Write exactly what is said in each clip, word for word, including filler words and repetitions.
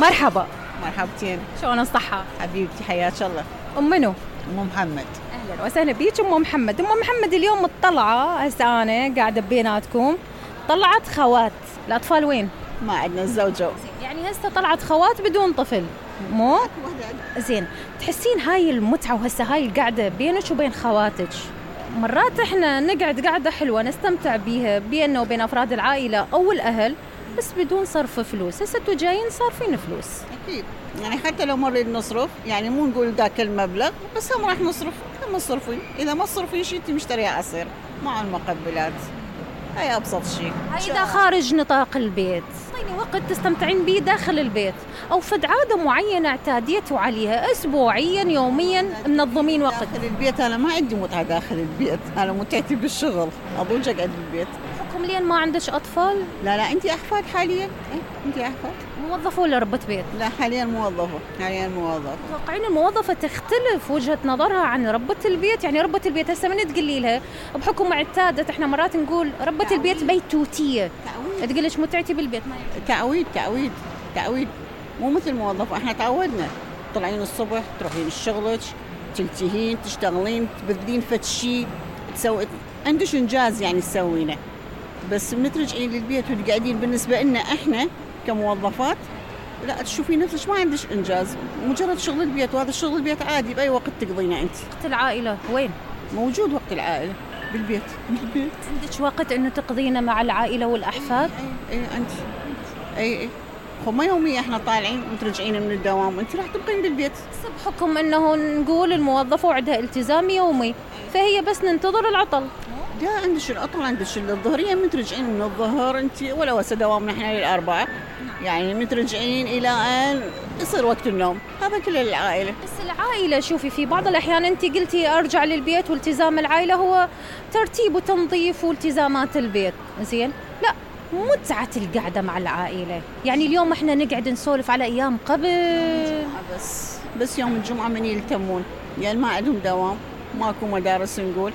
مرحبا. مرحبتين. شلون الصحة؟ حبيبتي حياك الله. أم منو؟ أم محمد. أهلا وسهلا بيك أم محمد. أم محمد اليوم مطلعة هسه أنا قاعدة بيناتكم، طلعت خوات، الأطفال وين؟ ما عندنا الزوجة. يعني هسه طلعت خوات بدون طفل، مو؟ زين، تحسين هاي المتعة وهسه هاي القعدة بينك وبين خواتك، مرات احنا نقعد قعدة حلوة نستمتع بيها بيننا وبين أفراد العائلة أو الأهل بس بدون صرف فلوس، هسه انتوا جايين صارفين فلوس. أكيد، يعني حتى لو نريد نصرف يعني مو نقول ذاك المبلغ بس هم راح نصرف، هم صرفين، إذا ما صرفين شيء أنت مشتريها عصير مع المقبلات، هاي أبسط شيء. هاي إذا خارج نطاق البيت، يعني وقت تستمتعين به داخل البيت أو فد عادة معينة اعتاديتوا عليها أسبوعيا يوميا منظمين وقت. داخل البيت أنا ما عندي متعة داخل البيت، أنا متعتي بالشغل، أضوج أقعد بالبيت. حكم لين ما عندك أطفال؟ لا لا أنت أحفاد حاليا؟ إيه أنت أحفاد؟ موظفة ولا ربة بيت؟ لا حاليا موظفة، حاليا موظفة. متوقعين الموظفة تختلف وجهة نظرها عن ربة البيت؟ يعني ربة البيت هسه من تقولي لها بحكم اعتادت، احنا مرات نقول ربة تعويد. البيت بيتوتية، تقول لك متعتي بالبيت. ما تعويد تعويد تعويد مو مثل موظفة، احنا تعودنا طلعين الصبح تروحين الشغلك تلتهين تشتغلين تبذلين فد شيء تسوي عندش انجاز يعني تسوينه، بس من ترجعين للبيت وتقعدين بالنسبة لنا احنا كموظفات لا تشوفين نفسك ما عندش انجاز، مجرد شغل البيت، وهذا الشغل البيت عادي باي وقت تقضينه انت. وقت العائلة وين؟ موجود وقت العائلة بالبيت. بالبيت عندك وقت انه تقضينه مع العائلة والاحفاد؟ اي اي انت اي اي خو يوميا احنا طالعين وترجعين من الدوام وانت راح تبقين بالبيت. بس بحكم انه نقول الموظفة وعندها التزام يومي فهي بس ننتظر العطل. لا عندش العطل، عندش الظهرية من ترجعين من الظهر انت ولا هسه دوامنا احنا للأربعة، يعني من ترجعين الى ان يصير وقت النوم، هذا كل العائلة. بس العائلة شوفي في بعض الأحيان أنت قلتي أرجع للبيت والتزام العائلة هو ترتيب وتنظيف والتزامات البيت، زين؟ لا، متعة القعدة مع العائلة، يعني اليوم احنا نقعد نسولف على أيام قبل. بس بس يوم الجمعة من يلتمون، يعني ما عندهم دوام، ماكو مدارس نقول،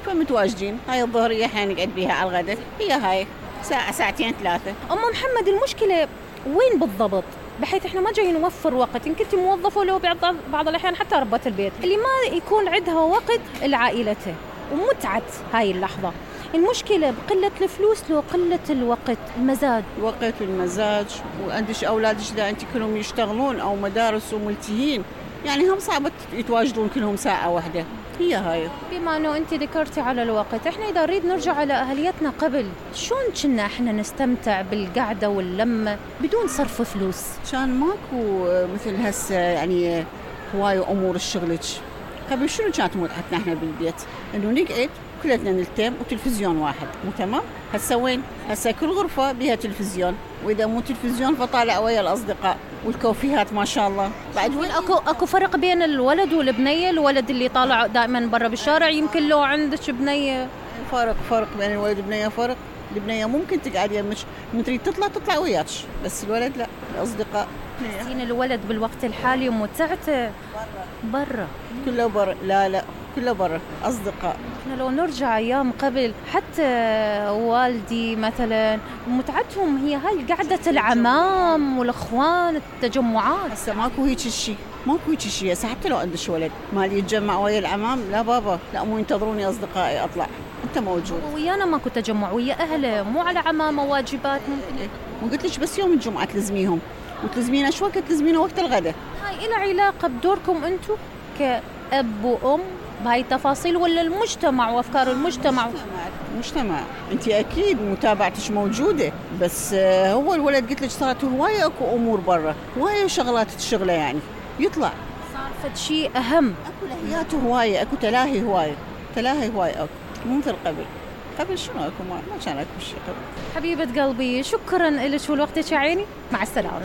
فمتواجدين، هاي الظهرية احنا نقعد بيها على الغداء، هي هاي ساعة ساعتين ثلاثة. أم محمد المشكلة وين بالضبط؟ بحيث احنا ما جاي نوفر وقت، إن كنت موظفة ولو بعض بعض الأحيان حتى ربة البيت اللي ما يكون عندها وقت لعائلته ومتعة هاي اللحظة، المشكلة بقلة الفلوس لو قلة الوقت، المزاج. وقت والمزاج، وعندش أولادش إذا أنت كلهم يشتغلون أو مدارس وملتهين، يعني هم صعبة يتواجدون كلهم ساعة واحدة، هي هاي. بما أنه أنت ذكرتي على الوقت، إحنا إذا نريد نرجع على أهليتنا قبل، شلون كنا إحنا نستمتع بالقعدة واللمة بدون صرف فلوس؟ كان ماكو مثل هسه يعني هواي أمور الشغلك. قبل شنو كانت متعتنا إحنا بالبيت؟ إنه نقعد كلتنا نلتم وتلفزيون واحد، مو تمام؟ هسه وين؟ هسه كل غرفة بها تلفزيون، وإذا مو تلفزيون فطالع ويا الأصدقاء والكوفيهات ما شاء الله. بعد وين أكو أكو فرق بين الولد والبنية؟ الولد اللي طالع دائما برا بالشارع يمكن لو عندك بنية. فرق فرق بين الولد والبنية، فرق. البنية ممكن تقعد يمك من تريد تطلع تطلع وياك، بس الولد لا، الأصدقاء. زين الولد بالوقت الحالي متعته برا برا كله برا، لا لا كله برا أصدقاء. احنا لو نرجع أيام قبل حتى والدي مثلا متعتهم هي هاي قعدة العمام والأخوان التجمعات. هسه ماكو هيك الشيء، ماكو هيك الشيء هسه، حتى لو عند الولد مالي يتجمع ويا العمام، لا بابا لا مو ينتظروني أصدقائي أطلع، أنت موجود. ويانا ماكو تجمع ويا أهله، مو على عمامة واجبات ممكن. إيه. وقلت لك بس يوم الجمعة تلزميهم، وتلزمينا شو وقت تلزمينا وقت الغداء. هاي إلى علاقة بدوركم أنتو كأب وأم بهاي التفاصيل ولا المجتمع وأفكار المجتمع؟ المجتمع انت اكيد متابعتش موجوده، بس هو الولد قلت لك صارت هوايه اكو امور برا، هوايه شغلات تشغله، يعني يطلع صار فد شيء اهم، اكو لهيات هوايه، اكو تلاهي هوايه، تلاهي هوايه اكو، مو مثل قبل. قبل شنو اكو؟ ما, ما كان اكو شيء قبل. حبيبه قلبي شكرا لك ولوقتك يا عيني، مع السلامه.